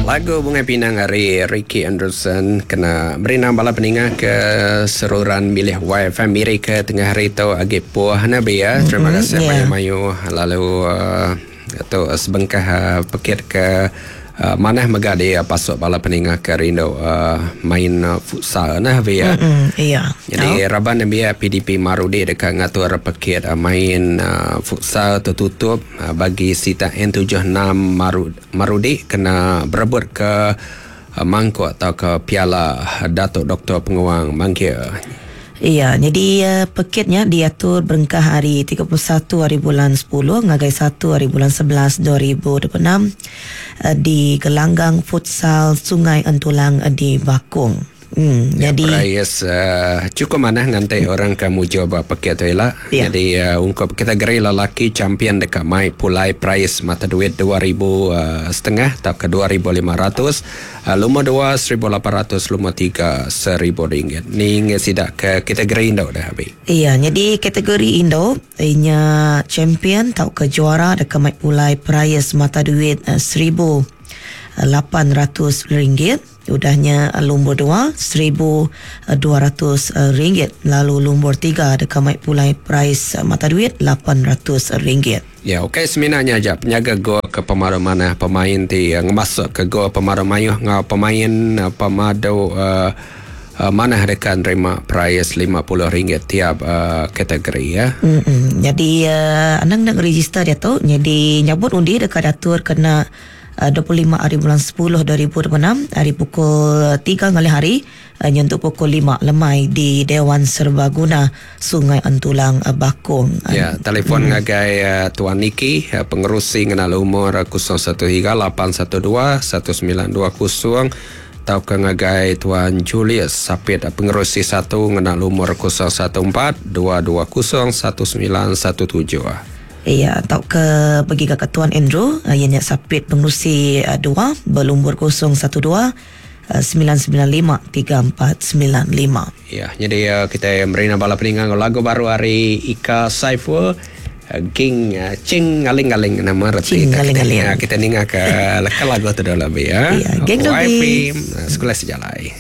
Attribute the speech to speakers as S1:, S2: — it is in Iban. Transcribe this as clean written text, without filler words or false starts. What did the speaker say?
S1: Lagu Bungai Pinang ari Ricky Anderson kena merindang bala peninga ke seruran milih YFM Miri ke tengah hari tu agi puh ne bi ya. Terima kasih yeah. mayuh-mayuh lalu uh, tu sebengkah uh, pekit ke uh, manah mega di uh, pasuk bala peninga ke rindu uh, main uh, futsal nah bi ya.
S2: Mm-mm, iya.
S1: Jadi oh. raban nembiak PDP Marudi deka ngatur pekit uh, main uh, futsal tertutup uh, bagi sitak N76 Marudi Marudi kena berebut ke mangkuk tauka piala Datuk Doktor Penguang Mangkir.
S2: Iya, nyadi pekit nya diatur berengkah ari 31 hari bulan sepuluh ngagai satu hari bulan 11 2026 di Gelanggang Futsal Sungai Entulang di Bakong.
S1: Hmm, ya, jadi perais chukup manah nganti orang ke mujur ba pekit tu ila. Ya. Jadi ungkup kategori lelaki champion deka mai pulai perais mata duit 2000 setengah tauka 2500, lumur 2 1800, lumur 3 1000 ringgit. Ni ngi sida ke kategori indu dah abi.
S2: Iya, jadi kategori indu inya champion tauka juara deka mai pulai perais mata duit 1800 ringgit. Udah nya lumbur dua, RM1,200 lalu lumbur tiga deka mai pulai perais mata duit RM800.
S1: Ya, ukai semina nya aja penyaga gol ke pemaru manah pemain ti ngemasukka gol pemaru mayuh enggau pemain pemadu manah deka nerima perais RM50 tiap kategori ya.
S2: Nyadi anang enda ngerejister diatu nyadi nyabut undi deka diatur kena 25 ari bulan 10 2026 ari pukul 3 ngalih hari nyentuk pukul 5 lemai di Dewan Serbaguna Sungai Entulang Bakong.
S1: Ya, telefon ngagai Tuan Niki, pengerusi ngena lumur 013 812 1920 tauka ngagai Tuan Julius Sapit, pengerusi satu ngena lumur 014 220 1917.
S2: Iya, tauka begiga ke Tuan Andrew, iya nya Sapit Pengerusi dua belumbur 012 995 3495.
S1: Iya, nyadi kitai meri bala peninga enggau lagu baru ari Ika Saiful, Ging Ching Ngaling-ngaling nama reti
S2: Ching Ngaling-ngaling.
S1: Kita ninga ke leka lagu tu dulu abi ya.
S2: Iya, geng
S1: YP Sekolah Sejalai.